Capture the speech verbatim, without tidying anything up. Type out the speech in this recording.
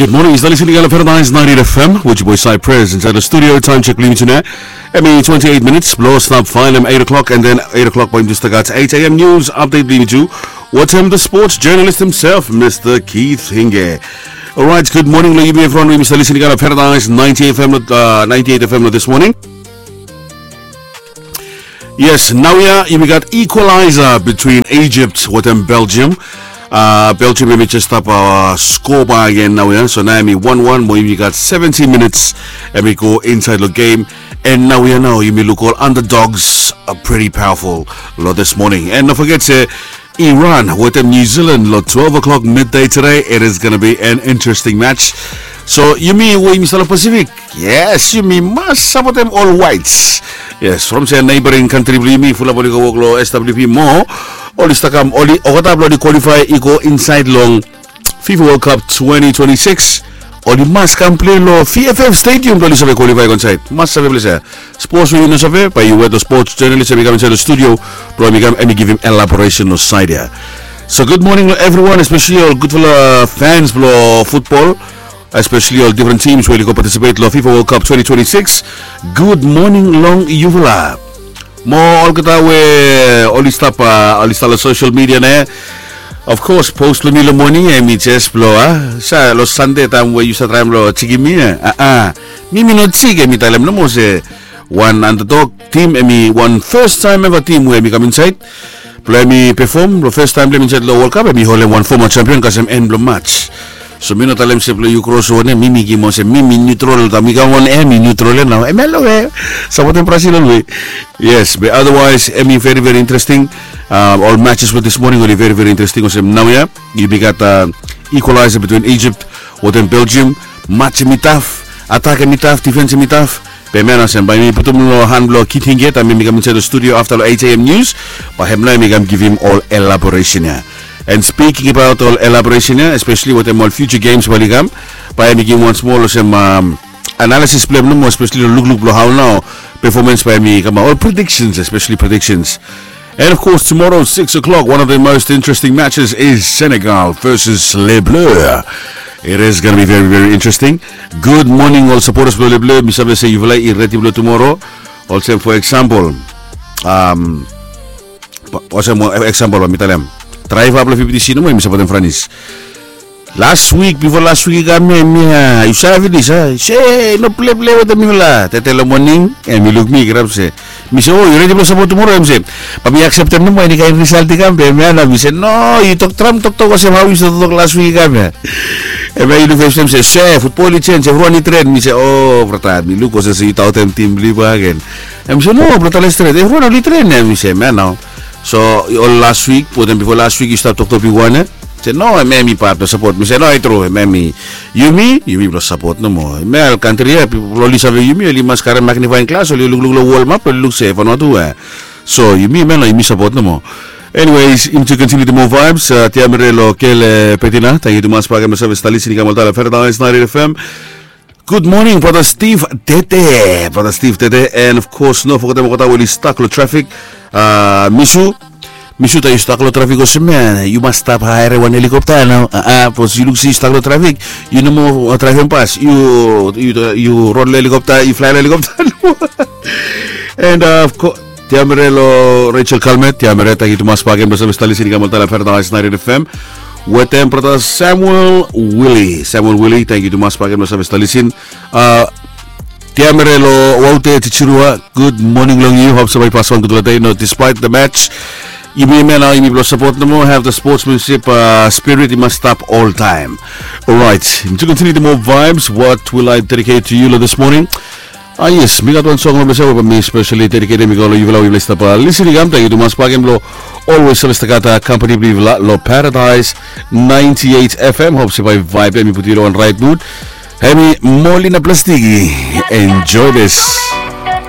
Good morning, yu stap listening long Paradise ninety-eight F M with your boy Cypress inside the studio. Time check blong yumi tonight. Hemi twenty-eight minutes blo stap faev long eight o'clock, and then eight o'clock bae yumi stap gat eight A M news update blong yumi tu. Wetem the sports journalist himself, Mister Keith Hinge. Alright, good morning long yumi evriwan we yumi stap listening long Paradise ninety-eight F M, uh, ninety-eight F M this morning. Yes, naoia yumi gat equalizer between Egypt wetem Belgium. Uh, Belgium hemi jes stap, uh, skoa bagen naoia. So nao hemi wan wan, mo yumi gat seventy minutes hemi go insaed long game. And naoia nao yumi luk ol underdogs are pretty powerful long this morning. And no foget se Iran wetem New Zealand long twelve o'clock midday today. It is gonna be an interesting match. So yumi we yumi stap long Pacific, yes, yumi mas sapotem ol whites. Yes, from se neighboring country blong yumi fulap oli go wok long S W P mo oli stap kam, oli olgeta blong oli qualify i go insaed long FIFA World Cup twenty twenty-six. Oli mas kam plei long V F F Stadium blong oli save qualify go insaed. Mas save ples ia. Sports we yu no save, bae yu wet long sports journalist hemi kam insaed long studio blong hemi kam hemi givim elaboration long saed ia. So good morning long evriwan, especially ol gudfala fans blong futbol, especially ol different teams we oli go participate long FIFA World Cup twenty twenty-six. Good morning long yufala. Mo olgeta we oli stap, uh, oli stap long social media nao, of course post blong mi long moning hemi jes blo, uh, sa long Sande taem we yu stap traem long jikim mi, uh, uh, mi mi no jik, hemi talem nomo se wan underdog team, hemi wan first time ever team we hemi kam insaed blong hemi perform long first time blong hemi insaed long World Cup, hemi holem wan former champion kasem en blong match. So mi no talem se blong yu kros wan ia, mi mi givim olsem mi mi neutral, taem mi kam wan ia mi neutral ia nao, hemia long we sapotem Brazil olwe. Yes, but otherwise hemi very very interesting. Uh, ol matches blong this morning oli very very interesting. Olsem naoia yumi gat, uh, equalizer between Egypt wetem Belgium. Match hemi taf, attack hemi taf, defense hemi taf. Be hemia nao olsem bae mi putum long han blong Keith Hinge taem hemi kam insaed long studio afta long eight A M news. Bae hem nao hemi kam givim ol elaboration ia. And speaking about ol elaboration ia, especially wetem ol future games we oli kam, bae hemi givim wan smol olsem, um, analysis blong hem nomo, especially long lukluk blong hao nao performance bae hemi kamaot, ol predictions, especially predictions. And of course tomorrow six o'clock, one of the most interesting matches is Senegal versus Les Bleus. It is gonna be very very interesting. Good morning ol supporters blong Les Bleus. Mi save se yufala i redi blong tumoro. Olsem for example, um, olsem example bae mi talem, draeva blong fifty C nomo hemi sapotem Franis. Las wik, bifo las wik i kam ia, hemia yu save finis a, se no pleplei wetem mifala. Tede long moning hemi luk mi i kirap se, mi se, o yu redi blong sapot tumoro? Hemi se, bae mi akseptem nomo enikaen risalt i kam. Be hemia nao mi se, no, yu tok traem toktok olsem hao yu stap toktok las wik i kam ia. Hemia i luk fastaem se, se futbol i jenis evriwan i tren. Mi se, o brata, mi luk olsem se yu taotem tim blong yu bakegen. Hemi se, no brata, les tren, evriwan oli tren ia. Mi se, hemia nao. So ol las wik wetem bifo las wik yu stap toktok bigwan ia. Se no, hemia hemi pat blong sapot. Mi se no, i tru, hemia hemi, yumi yumi blong sapot nomo. Hemia ol kantri ia, pipol oli save yumi oli mas karem magnifying glass, oli lukluk long wol map, oli luk se Vanuatu ia. So yumi hemia nao yumi sapot nomo. Anyways, yumi tu continue tu moa vibes. Uh, Tiamere long Kele Petina, tangkiu tumas bakegen blong save stap listening i kam oltaem long Paradise ninety-eight F M. Good morning brata Steve Tete, brata Steve Tete. And of course no fogetem olgeta we oli stak long trafik. Uh, Misu, Misu, taem yu stak long trafik olsem ia yu mas stap haerem wan helikopta nao. Uh, uh, bikos yu luk se yu stak long trafik, yu no moa, uh, draevem pas, yu, yu, yu ron long helikopta, yu flae long helikopta. And, uh, of course, Tiamere long Rachel Kalmet, Tiamere, tangkiu tumas bakegen blong save stap listening i kam oltaem long Paradise ninety-eight F M. Wetem brata Samuel Willie, Samuel Willie, tangkiu tumas bakegen blong save stap listening. Uh, Tiamere long Waute Chichirua, good morning long yu. Hop se bae yu pasem wan gudfala dei, no, despite the match. Yumi hemia nao yumi blong sapot nomo, have the sportsmanship, uh, spirit i mas stap oltaem. Alright, yumi tu continue tu moa vibes. What will I dedicate to you long this morning? Ah yes, mi gat wan song long blong save bae mi specially dedicate hemi go long yufala we yufala i stap, uh, listening i kam. Tangkiu tumas bakegen blong always save stap gat, uh, kampani blong yufala long Paradise ninety-eight F M. Hop se bae vibe ia hemi putum yu long wan right mood. Hemi Molina Plastiki. Enjoy this.